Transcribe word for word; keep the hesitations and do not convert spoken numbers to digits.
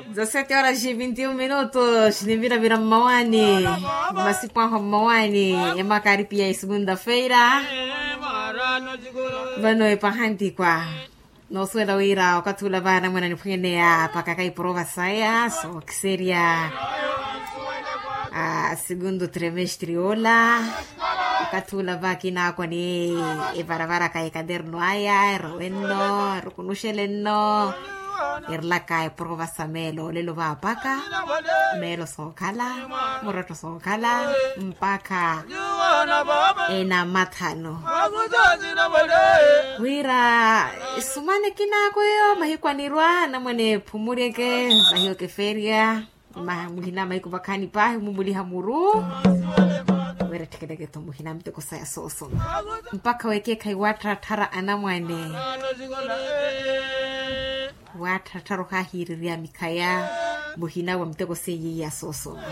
Dezasete horas e vinte e um minutos niviravira mmawaani. Masipu ahu mmawaani, emakaripiya ya segunda-feira. Vano epahantikwa noosuwela wira okathi ula vaana mwana niphweneya pakaka iporova saya sookiserya a segundo trimestre ola. Okathi ula vakinaakwa ni evaravaraka ekaderno aya erowenno erukunuxelenno. Erlaka eprova sa meelo olelo vaapaka meelo sookhala muretto sookhala mpakha enamathano. Wira esumane kinaakweyo mahiku anirwa namwene phumuryeke mahiyo kefeerya. Muhina mahiku vakhaani paahi mumuliha muru wira etthekeleke-tho muhina miteko saya soosoma mpakha wekeekhayi waattatthara anamwane. Waattatthara ohahirirya mikhaya muhina wa miteko seiye iya soosoma.